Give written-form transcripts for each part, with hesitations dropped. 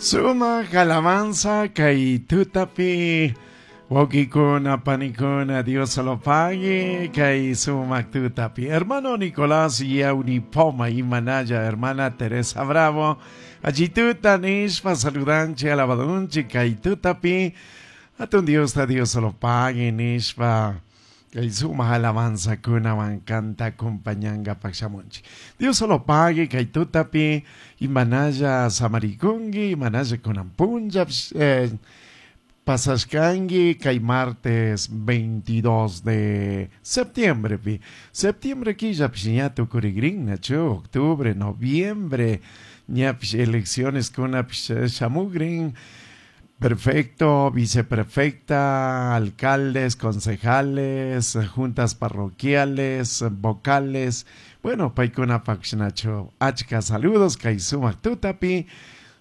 Sumak alabanza kay tutapi wawkikuna panikuna Dios lo pague kay sumak tutapi. Hermano Nicolás Yaunipoma y Manaya, hermana Teresa Bravo. Allí tuta nishpa saludanchi alabadunchi kay tutapi. Atun Dios ta Dios lo pague nishpa. Kay sumak alabanza kunawan kanta acompañangapaq shamunchik. Dios lo pague kay tutapi imanalla samarikunki imanalla kunan punlla pasashkanki kay martes 22 de septiembre pi. Septiembre killapish ña tukurikrin nachu octubre, noviembre ñapish elecciones kunapish shamukrin. Perfecto, viceprefecta, alcaldes, concejales, juntas parroquiales, vocales. Bueno, paykunapaq nachu achka saludos kay sumak tutapi.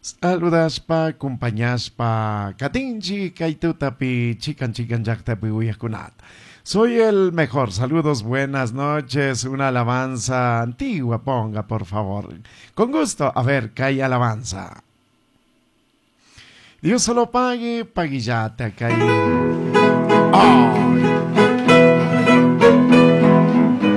Saludashpa, acompañashpa, katinchi kay tutapi, chikan chikan llaqtapi uyaqkunata. Soy el mejor. Saludos, buenas noches. Una alabanza antigua, ponga, por favor. Con gusto. A ver, kay alabanza. Dios solo pague, paguillata, kay. Oh.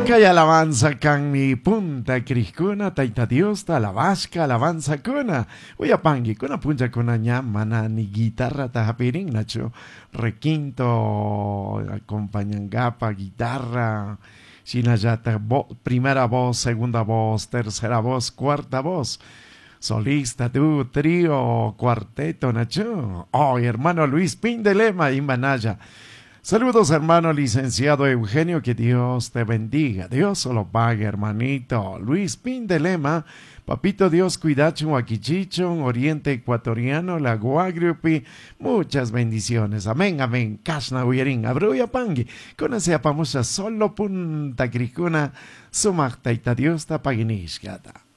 Kay alabanza kan mi punta krishkuna, taita Dios ta alabashka alabanza kuna. Uyapangi, kuna puncha kuna ña mana ni guitarra ta hapirin nacho. Requinto, acompañangapa, guitarra. Shinallata, primera voz, segunda voz, tercera voz, cuarta voz. Solista, tú, trío, cuarteto, Nacho. Oh, hermano Luis Pindelema y Manaya. Saludos, hermano licenciado Eugenio, que Dios te bendiga. Dios lo pague, hermanito. Luis Pindelema, papito Dios, cuidacho, Aquichichon, Oriente Ecuatoriano, la Guagriupi. Muchas bendiciones. Amén, amén. Kashna uyerin, abruya pangui. Con ese apamusa solo punta cricuna, sumakta ita Dios ta paginishkata.